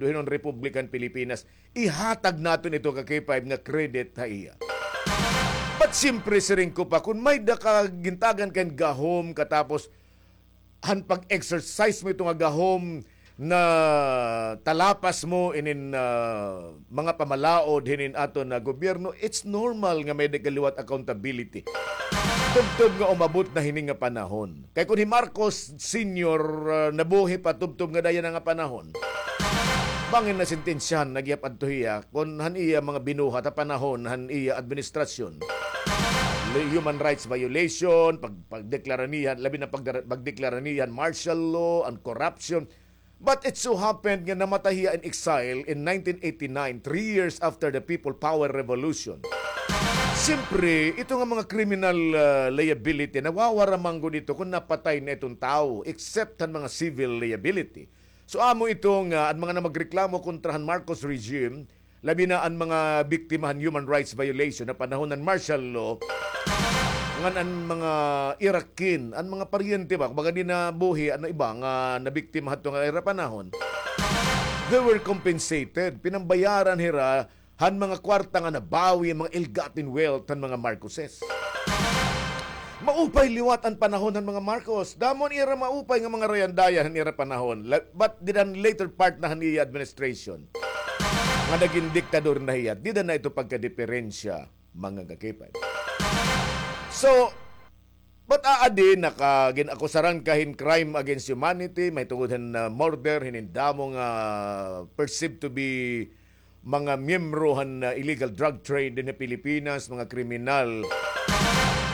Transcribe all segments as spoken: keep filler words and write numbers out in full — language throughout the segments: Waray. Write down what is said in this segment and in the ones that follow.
Republika han Pilipinas. Ihatag naton ito ka K five nga credit ha iya. But siyempre, siring ko pa, kon may-ada ka gintagan ka hin gahom, katapos han pag-exercise mo ito nga gahom, natalapas mo inin, ah, mga pamalaod hinin aton nga gobyerno, it's normal nga may-ada ka liwat accountability. Tubtob nga umabot na hini nga panahon. Kay kon hi Marcos Senior, ah, nabuhi pa tubtob nga dayon na nga panahon, bangin nasentensyahan na gihap adto hiya kon han iya mga binuhat ha panahon han iya administrasyon. Human rights violation, pag-, pagdeklara niya, labi na pag-, pagdeklara niya martial law and corruption. But it so happened nga namatay hiya in exile in nineteen eighty-nine, three years after the People Power Revolution. Siyempre, ito nga mga criminal, ah, liability, nawawara man gud ito kon napatay na iton tawo, except han mga civil liability. So, amo ito nga, an mga namagreklamo kontra han Marcos regime, labi na an mga biktima han human rights violation ha panahon han martial law, ngan an mga ira kin, an mga paryente ba, kumbaga di na buhi, ano iba, nga nabiktima hadto nga ira panahon, they were compensated. Pinambayaran hira han mga kwarta nga nabawi, mga ill-gotten wealth han mga Marcoses. Maupay liwat an panahon han mga Marcos. Damo an ira maupay nga mga rayandayan han ira panahon. La-, but dida han later part na han iya administration, nga nagin diktador na hiya, dida na ito pagkadiperensya, mga ka-K five. So, but aadi, naka-, gin-akusaran ka hin crime against humanity, mahitungod han, ah, murder hinin damo nga perceived to be mga miyembro han, ah, illegal drug trade dinhi ha Pilipinas, mga kriminal.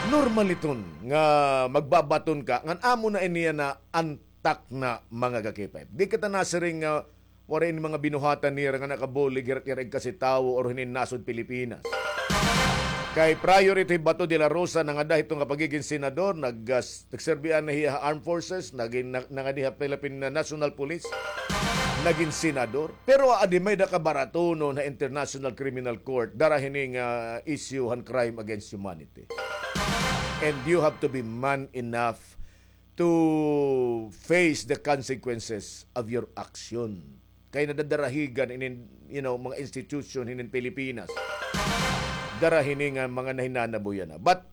Normal iton nga magbabaton ka, ngan amo na ini na antak na, mga ka-K five. Di kita nasiring nga waray ini mga binuhatan nira nga nakabulig hira, hira igkasi tawo or hinin nasod Pilipinas. Kay prior ito hi Bato de la Rosa, nangada hito nga pagigin senador, nag-, ah, nagserbihan na hiya ha Armed Forces, nagin, na-, nangadi ha Philippine National Police, nagin senador. Pero aadi may-ada ka baratonon ha International Criminal Court, dara hini nga issue han crime against humanity. And you have to be man enough to face the consequences of your action. Kay nadadarahigan inin, you know, mga institution hinin Pilipinas. Dara hini nga mga nahinanabo yana. But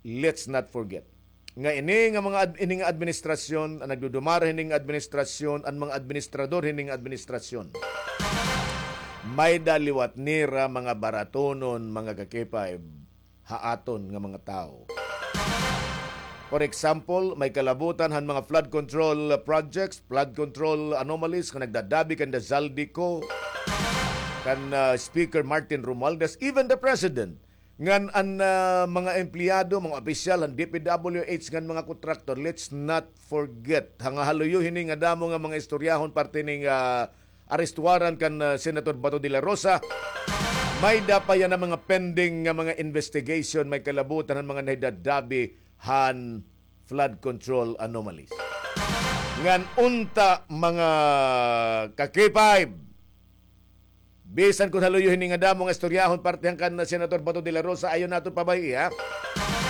let's not forget nga ini nga mga ad-, ini nga administrasyon, an nagdudumara hini nga administrasyon, an mga administrador hini nga administrasyon, may-ada liwat nira mga baratonon, mga ka-K five, ha aton nga mga tawo. For example, may kalabutan han mga flood control projects, flood control anomalies nga nagdadabi kan the Zaldy Co, kan, ah, Speaker Martin Romualdez, even the President, ngan an, ah, mga empleyado, mga opisyal han D P W H ngan mga kontraktor. Let's not forget, ha nga haluyo hini nga damo nga mga istoryahon parte hini nga arrest warrant kan, ah, Senator Bato de la Rosa, may-ada pa yana mga pending nga mga investigation, may kalabutan han mga nahidadabi han flood control anomalies. Ngan unta, mga ka-K five, bisan kon haluyo hini nga damo nga istoryahon parte han kan Senator Bato de la Rosa, ayaw naton pabay-i, ha?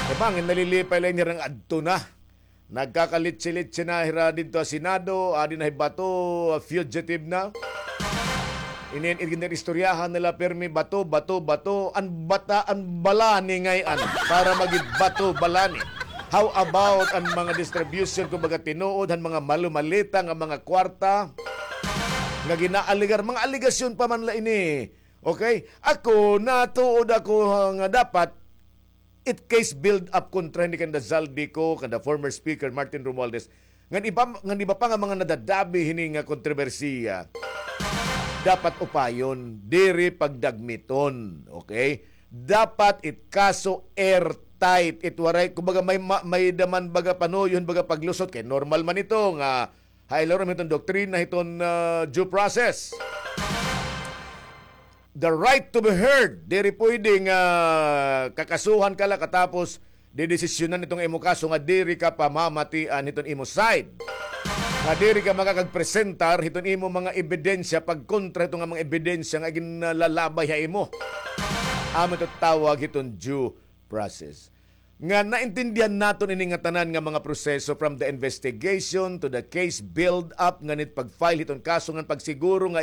Kay bangin nalilipay la ini nga adto na. Nagkakalitsi-litsi na hira didto ha Senado, adi na hi Bato, fugitive na. Inin, inin istoryahan nila pirmi Bato, Bato, Bato. An bata, an balani ngay-an para magin Bato, balani. How about an mga distribution, kumbaga tinuod, han mga malumalita nga mga kwarta nga ginaaligar, mga aligasyon pa man la ini. Okay? Ako, natuod ako, ha, nga dapat it case build up kontra hini kanda Zaldy Co, kanda former Speaker Martin Romualdez, ngan iba, ngan iba pa nga mga nadadabi hini nga kontrobersiya, dapat upayon, diri pagdagmiton, okay? Dapat it kaso airtight, it waray, kumbaga may ma-, may-ada man baga panuyon, baga paglusot, kay normal man ito nga ha ilarom hiton doktrina hiton, ah, due process. The right to be heard. Diri pwede nga kakasuhan ka la katapos didesisyonan ito nga imo kaso nga diri ka pamamatian hiton imo side. Nga diri ka makakagpresentar hiton imo mga ebidensya pagkontra hito nga mga ebidensya nga ginlalabay ha imo. Amo ito tawag hiton due process. Nga naintindihan naton ini nga tanan nga mga proseso, from the investigation to the case build up, ngan it pag-file hiton kaso, ngan pagsiguro nga it